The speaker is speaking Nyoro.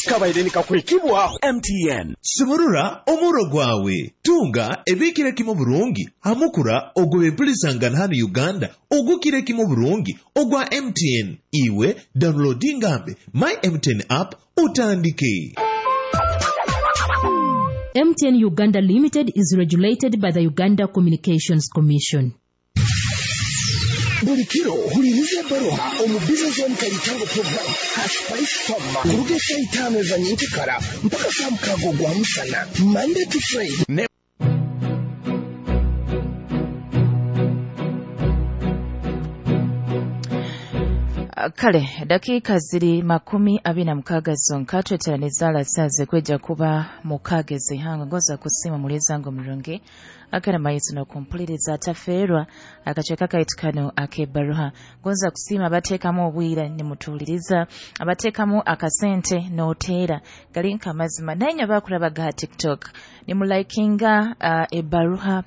Kabaire nikakwekibwaho MTN. Sumurura omuro gwawe, tunga ebikire kimu burungi hamukura ogw'ebempulisangana hanu Uganda ogukire kimu burungi ogwa MTN. Iwe downloadingambe My MTN app utandike. MTN Uganda Limited is regulated by the Uganda Communications Commission. Buli kiro huliriza ebbaruha omu Business One Kalitango program ha Spice Farmer kuruga esaaha 5 eza nyenkekara mpaka saa 6 ogwa musana, Monday to Friday. Kale dakiika ziri 26 zonka tweteraniza alasaze kweja kuba mukageze hanga ngoza kusima mulizango murungi akana maiso nokumpuliriza atafeerwa akacweka kaitu kano ak'ebbaruha. Gonza kusiima abateekamu obwira nimutuuliriza, abateekamu akasente n'oteera gali nka amazima, naye nyo bakulabaga ha TikTok nimulaikinga ebbaruha.